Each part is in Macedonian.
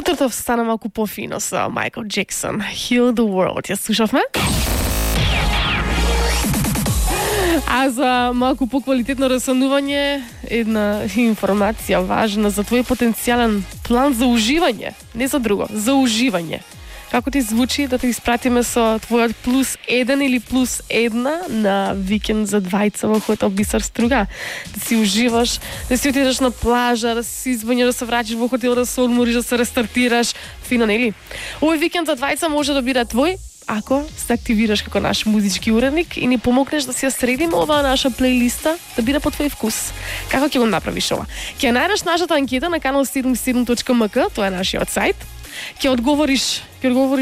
Утрото стана малку пофино со Майкл Джексон. Heal the World. Ја слушавме? А за малку поквалитетно рассанување, една информација важна за твој потенцијален план за уживање. Не за друго, за уживање. Како ти звучи да те испратиме со твојот +1 или +1 на викенд за двајца во хотел Бисер Струга? Да си уживаш, да си отидеш на плажа, да си извањаш, да се враќаш во хотел, да се одмориш, да се рестартираш. Фино, нели? Овој викенд за двајца може да биде твој, ако се активираш како наш музички уредник и ни помогнеш да си ја средиме оваа наша плейлиста да биде по твој вкус. Како ќе го направиш ова? Ќе најдеш нашата анкета на kanal77.mk, тоа е нашиот сајт. Ќе одговориш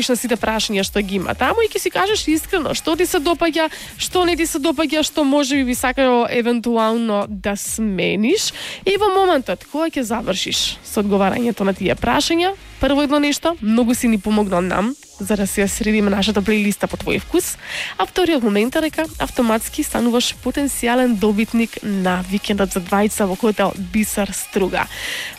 на сите прашања што ги има таму и ќе си кажеш искрено што ти се допаѓа, што не ти се допаѓа, што може би сакао евентуално да смениш. И во моментот кога ќе завршиш со одговарањето на тие прашања, прво едно нешто, многу си ни помогнал нам за да се средиме нашата плейлиста по твој вкус, а вториот момент е дека автоматски стануваш потенцијален добитник на викендот за двајца во хотел Бисер Струга.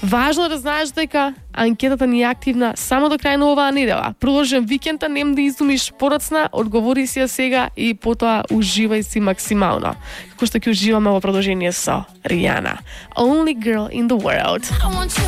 Важно е да знаеш дека анкетата ни е активна само до крај на оваа недела. Продолжен викенд, нем да изумиш подоцна, одговори си ја сега и потоа уживај си максимално. Како што ќе уживаме во продолжение со Ријана. Only girl in the world.